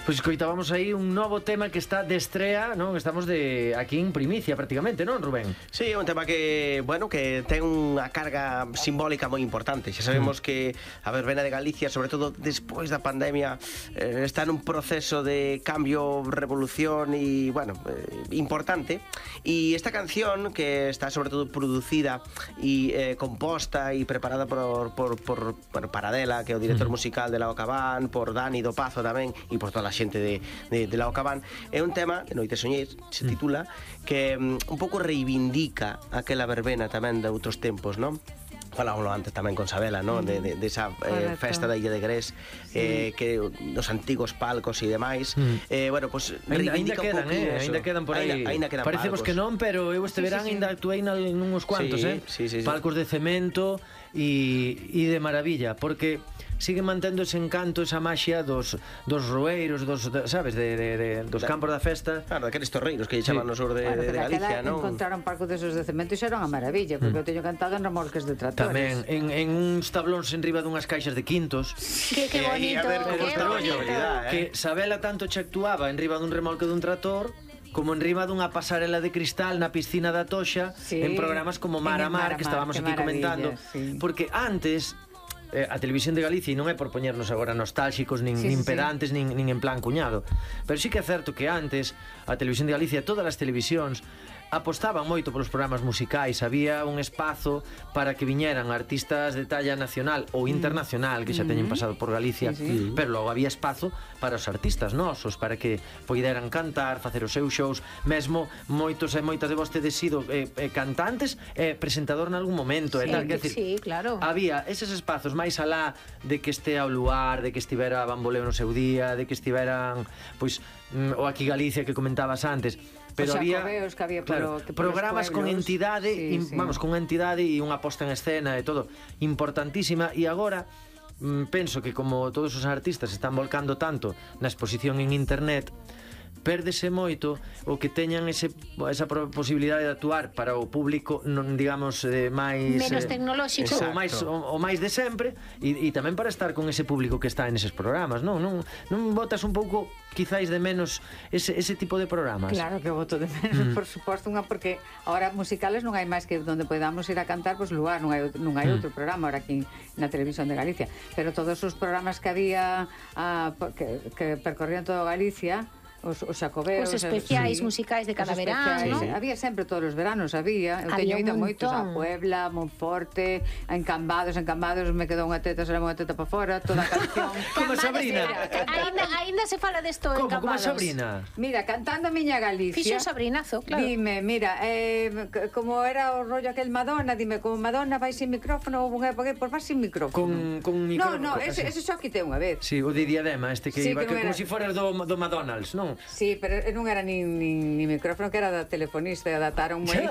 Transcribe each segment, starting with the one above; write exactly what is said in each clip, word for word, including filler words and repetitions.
Pois escoitábamos aí un novo tema que está de estrea, non? Estamos de aquí en primicia prácticamente, non, Rubén? Sí, é un tema que, bueno, que ten unha carga simbólica moi importante. Xa sabemos mm. que a verbena de Galicia, sobre todo despois da pandemia, eh, está nun proceso de cambio, revolución e, bueno, eh, importante. E esta canción, que está sobre todo producida e eh, composta e preparada por, por, por bueno, Paradela, que é o director mm. musical de Lao Cabán, por Dani do Pazo tamén, e por toda a xente de, de, de Lao Cabán, é un tema que Noite Soñéis se titula, que um, un pouco reivindica aquela verbena tamén de outros tempos, non? Falámoslo antes tamén con Sabela, ¿no? De, de, de esa eh, festa da Illa de Grés, sí. eh, que os antigos palcos e demais. Mm. Eh, bueno, pues reivindica ainda, ainda un quedan, eh? Eso. Ainda quedan por aí. Ainda, ainda quedan Parecemos palcos. Que non, pero eu este sí, verán sí, sí. ainda actuei nuns cuantos, sí, eh? Sí, sí, sí. Palcos de cemento e, e de maravilla, porque sigue mantendo ese encanto, esa maxia dos, dos roeiros, dos, sabes, de, de, de, dos da, campos da festa. Claro, daqueles torreiros que chaman sí. no sur de, bueno, de, de Galicia, non? Encontraron palcos desos de cemento e xa era unha maravilla, porque mm. eu teño cantado en remolques de tractores. Tamén, en, en uns tablóns enriba dunhas caixas de quintos. Que, que bonito, ver, que bonito. Eh? Que Sabela tanto che actuaba enriba dun remolque dun tractor como enriba dunha pasarela de cristal na piscina da Toxa, sí. en programas como Mar a Mar, que estábamos aquí comentando. Sí. Porque antes eh, a Televisión de Galicia, e non é por poñernos agora nostálxicos nin, sí, nin sí, pedantes nin, nin en plan cuñado, pero sí que é certo que antes a Televisión de Galicia, todas as televisións apostaban moito polos programas musicais, había un espazo para que viñeran artistas de talla nacional ou internacional que xa teñen pasado por Galicia, sí, sí. pero logo había espazo para os artistas nosos, para que poideran cantar, facer os seus shows, mesmo moitos e moitas de vostedes sido eh, eh, cantantes e eh, presentador nalgún momento, sí, e tal, que decir, sí, claro. Había eses espazos máis alá de que estea o luar, de que estivera Bamboleo no seu día, de que estiveran pois mm, o Aquí Galicia que comentabas antes, pero o había, que había claro, polo, que programas con entidade, sí, in, sí. vamos, con entidade e unha posta en escena e todo importantísima, e agora mm, penso que como todos os artistas están volcando tanto na exposición en internet, pérdese moito o que teñan ese, esa posibilidade de actuar para o público, non digamos eh, máis menos eh, tecnolóxico, o máis o, o máis de sempre, e, e tamén para estar con ese público que está en eses programas, non? Non, non botas un pouco quizáis de menos ese, ese tipo de programas? Claro que boto de menos, mm. por suposto, unha porque ahora musicales non hai máis que donde podamos ir a cantar, pois lugar, non hai, non hai mm. outro programa ahora aquí na Televisión de Galicia, pero todos os programas que había a, que, que percorrían toda Galicia, os, os xacobeos, os especiais sí, musicais de cada verano, sí, ¿no? sí. Había sempre todos os veranos, había. Eu había teño ido montón. moitos a Puebla, Monforte, a Encambados, Encambados, me quedou unha teta, será unha teta para fora, toda a canción. Como a Sabrina. Ainda, ainda se fala desto en Encambados. Como a Sabrina. Mira, cantando Miña Galicia. Fixo un sabrinazo, claro. Dime, mira, eh, como era o rollo aquel Madonna, dime, como Madonna vai sin micrófono, ou unha época, por vai sin micrófono. Con, con micrófono. No, no, ese, ese só quitei unha vez. Sí, o de Diadema, este que sí, iba, que, que como si fueras do, do McDonald's, non? Sí, pero non era nin, nin, nin micrófono, que era da telefonista, e adaptaron moi.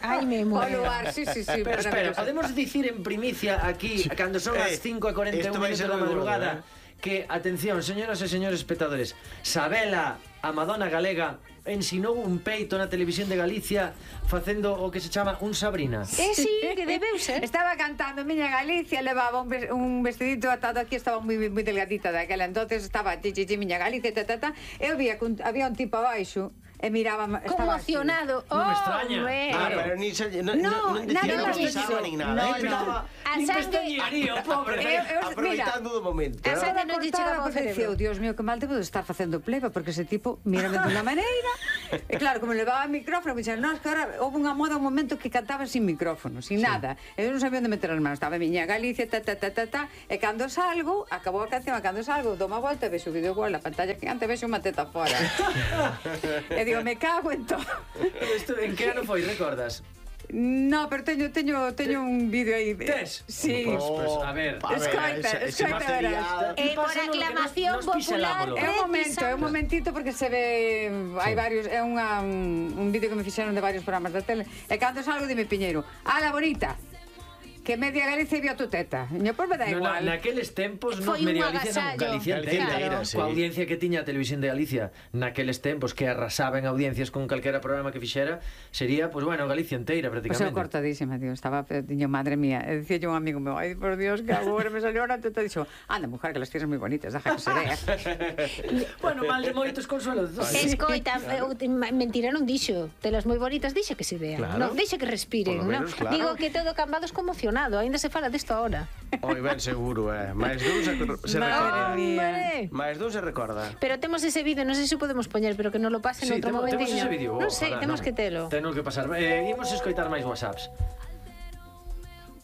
Ai, me muero. Lugar, sí, sí, sí. Pero espera, podemos dicir en primicia aquí, cando son as cinco e cuarenta e un minutos da madrugada, que, atención, señoras e señores espectadores, Sabela, a Madonna galega, ensinou un peito na Televisión de Galicia facendo o que se chama un Sabrina. Eh, sí, que debeu ser. Estaba cantando Miña Galicia, levaba un, un vestidito atado aquí, estaba moi moi delgadita daquela, entonces estaba chi chi chi Miña Galicia, ta ta ta. Eu vía que había un tipo abaixo e miraba, estaba conmocionado. Non me extraña. Ah, pero ni se no, no, non dicía, non pensaba nin nada. No, eh, no. A sangue, pobre. Aproveitando do momento. A sangue non lle chegaba ao cerebro. Dios mío, que mal debo de estar facendo pleba, porque ese tipo mírame de unha maneira. E claro, como levaba o micrófono, me dixeron, no, es que ahora houve unha moda un momento que cantaba sin micrófono, sin sí. nada. Eu non sabía onde meter as manos, estaba Miña Galicia, ta, ta, ta, ta, ta, e cando salgo, acabou a canción, e cando salgo, dou unha volta e vexo o vídeo igual, a pantalla gigante, vexo unha teta fora. E digo, me cago en todo. Isto, en que ano foi, recordas? No, pero teño teño teño un vídeo aí. Tes? Sí. Pues, pues, a ver, a escoita, ver, ese, escoita, ese material. Eh, por aclamación nos, nos popular. É un momento, é un momentito porque se ve, hai sí. varios, é unha un, un vídeo que me fixeron de varios programas da tele. E cando salgo dime Piñeiro, "Ala bonita." que media Galicia vio tu teta. Yo, pues me da No, igual. na, naqueles tempos, no, Foi un media Galicia, non, agasallo. Galicia Galicia inteira, inteira, claro. sí. Coa audiencia que tiña a Televisión de Galicia naqueles tempos, que arrasaba en audiencias con calquera programa que fixera, sería, pues bueno, Galicia inteira, Pues eu prácticamente. cortadísima, tío. Estaba, diño, madre mía. E dicía yo a un amigo meu, ai, por Dios, que agora me salió una teta. Dixo, anda, mujer, que las tienes moi bonitas, deja que se vea. Bueno, mal de moitos consuelos. Escoita, eu- mentira non dixo. Telas moi bonitas, dixe que se vean. Claro. Non, dixe que respiren, Por lo non? menos, claro. Digo que todo Cambados conmocionado, aínda se fala disto ahora. Oi, ben seguro, eh. Máis dun se, se Madre recorda. mía. Hombre. Máis dun se recorda. Pero temos ese vídeo, non sei se o podemos poñer, pero que non lo pasen Sí, outro temo- temos momentiño. ese vídeo. Non sei, Ojalá, temos non. que telo. Temos que pasar. Eh, imos escoitar máis WhatsApps.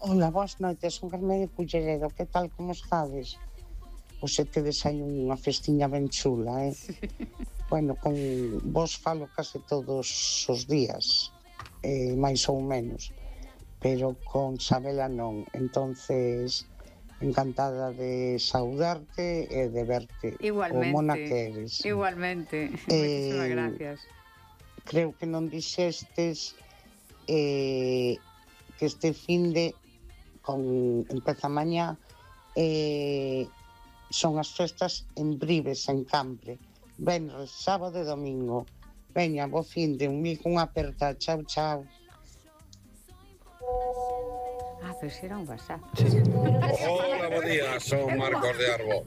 Ola, boas noites, son Carmen de Culleredo, que tal, como estades? Pois se tedes aí unha festiña ben chula, eh? Bueno, con vos falo case todos os días, eh, máis ou menos, pero con Sabela non, entonces encantada de saudarte e de verte, Igualmente. o mona que eres. Igualmente. Eh, Muchísimas gracias. Creo que non dixestes eh, que este finde con empeza mañá eh, son as festas en Brives, en Cambre, venres, sábado e domingo. Veña, bo finde, un mil cunha aperta, chao, chao. Ah, pero si era un WhatsApp. Hola, bo día, son Marcos de Arbo.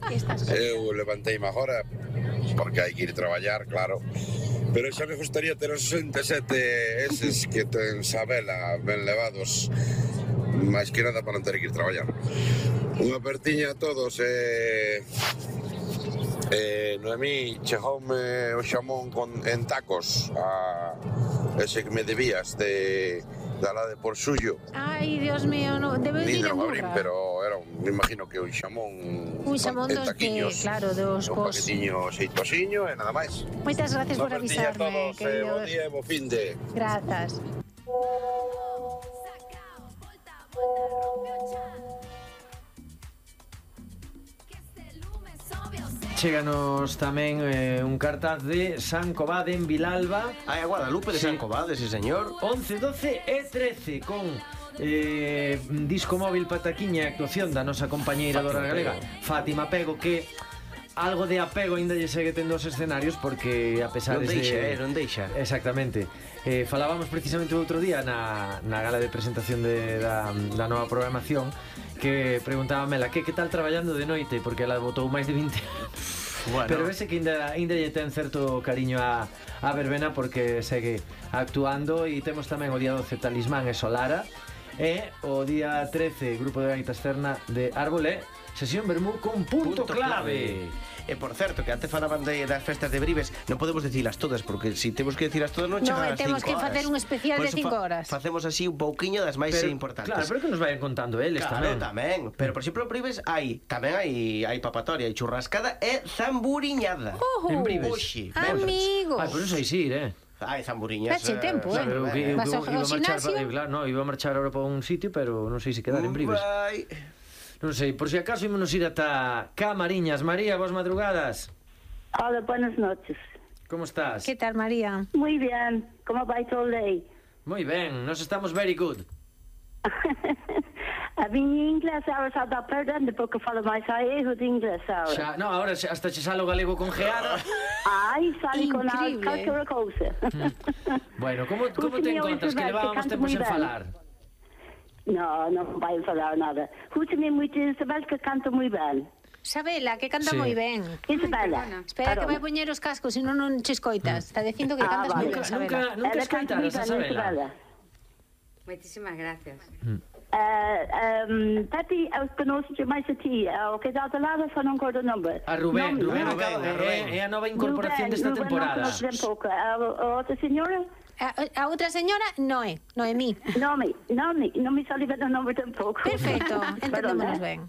Eu levanteime agora porque hai que ir traballar, claro. Pero xa me gustaría ter os sesenta e sete eses que ten Sabela ben levados, máis que nada para non ter que ir traballar. Unha apertiña a todos e... Eh, Noemí, chegoume o xamón con, en tacos a ese que me debías de, da la de por suyo. Ai, Dios mío, no, debe Ni ir en non abrín, burra. pero era un, me imagino que un xamón Un xamón en dos de, taquiños, claro, dos un pos. paquetiño xeitosiño e nada máis. Moitas gracias por Unha apertiña a avisarme, todos, eh, querido. bo día e bo finde. Grazas. Chéganos tamén eh, un cartaz de San Covade en Vilalba. Hai a Guadalupe de Sí. San Covade, sí, señor. once, doce e trece con eh, disco móvil pataquiña e actuación da nosa compañeira Fátima Dora Galega, Pego. Fátima Pego, que algo de apego ainda lle segue tendo os escenarios porque a pesar Non deixa, de... eh, non deixa. Exactamente. Eh, falábamos precisamente o outro día na, na gala de presentación de, da, da nova programación que preguntaba Mela que que tal traballando de noite porque ela botou máis de vinte anos. Bueno. Pero ese que ainda, ainda lle ten certo cariño a, a verbena porque segue actuando e temos tamén o día doce Talismán e Solara e o día trece Grupo de Gaitas Cerna de Árbolé sesión Bermú con punto, Punto clave. clave. E por certo, que antes falaban de, das festas de Brives, non podemos dicilas todas, porque se si temos que dicilas todas non No, chegan ás temos cinco que horas. facer un especial Por de eso cinco fa- horas. Facemos así un pouquiño das máis Pero, importantes. claro, pero que nos vayan contando eles Claro, tamén. tamén. Pero, por exemplo, en Brives hai, tamén hai, hai papatoria, hai churrascada e zamburiñada. Ojo. En Brives. Oxe, Amigo. Ai, por eso hai sí, eh. Hai zamburiñas. Dache tempo, eh. Claro, eu que, eu, Vas que ao- iba ao a marchar, gimnasio? pa, claro, no, iba a marchar ahora para un sitio, pero non sei se quedar en Brives. Vai. Non sei, por si acaso ímonos ir ata Camariñas. María, boas madrugadas. Hola, buenas noches. Como estás? Que tal, María? Muy bien, ¿cómo va todo el día? Moi ben, nos estamos very good. A mi inglés ahora se está perdendo porque falo máis gallego de inglés ahora. Xa, no, agora xa- hasta che salo galego con geada. Ai, sale con algo, Increíble. calquera cousa. Bueno, como, como te Escúchame, encontras? Que Isabel, que levábamos canto tempos moi en ben. falar. No, non vai falar nada. Escúchame moito, Isabel, que canto moi ben. Sabela, que canta Sí. moi ben. Isabela. Espera que perdón. vai poñer os cascos, se non non che escoitas. Está dicindo que Ah, cantas vale. moi Nunca, ben, Sabela. nunca, nunca Ela canta moi escoitaras a ben, Sabela. Muchísimas gracias. Uh, um, Pepi, eu conosco máis a ti. O que dá de lado só non cordo o nombre. A Rubén, Non, Rubén, non. acaba, Rubén, Rubén. é, é a nova incorporación Rubén, desta Rubén, temporada. Non conozco ben pouco. A, a outra señora? A, a outra señora, Noé, Noemí. Non me, non me, non me sale ben o nombre tampouco. Perfecto, entendémonos Perdón, eh? ben.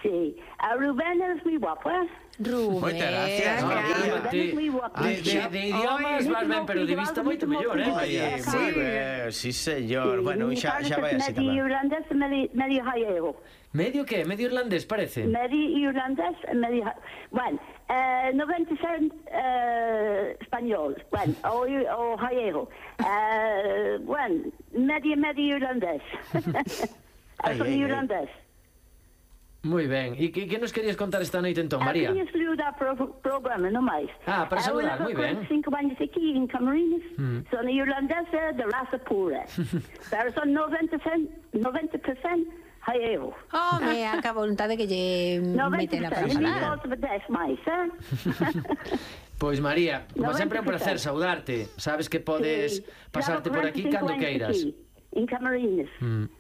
Sí. A Rubén es moi guapo, eh? Rubén. Moitas gracias, No, María. de, Es moi guapo. de, de, de idiomas Ai, vas ben, pero de vista moito mellor, eh, María? Oye, moi ben, sí, señor. Bueno, xa, xa vai así Medio tamén. irlandés e medio, medio gallego. Medio que? Medio irlandés, parece? Medio irlandés e medio... ja- Bueno, eh, noventa por ciento eh, español. Bueno, o, o gallego. Eh, bueno, medio, medio irlandés. Son irlandés. Moi ben. E que, que nos querías contar esta noite entón, María? Quería saludar pro programa, non máis. Ah, para saludar, moi ben. Eu levo cinco anos aquí en Camarines, mm. son irlandesa de raza pura. Pero son noventa por cento haieu. Home, a ca vontade que lle meten a para falar. noventa por cento máis, eh? Pois María, como sempre é un placer saudarte. Sabes que podes pasarte por aquí cando queiras. En Camarines. Mm.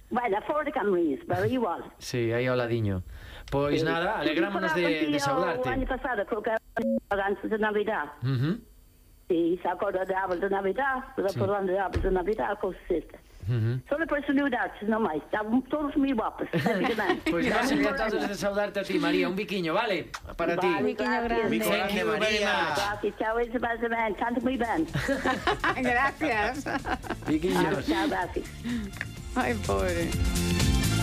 Bueno, fora de Camarines, pero igual. Sí, aí ao ladiño. Pois nada, alegrámonos de, de saudarte. O ano pasado, creo que era antes de Navidad. Uh -huh. Sí, se acorda de árbol de Navidad, pero falando de árbol de Navidad, coisa esta. Uh -huh. Solo por saludar-te, non máis. Estavam todos moi guapos. Pois nós encantados de saudarte a ti, María. Un biquiño, vale? Para ti. Un biquiño grande. Un bico grande, María. Gracias, chao, Isabel, canto moi ben. Gracias. Biquiños. Chao, gracias. Ay, pobre.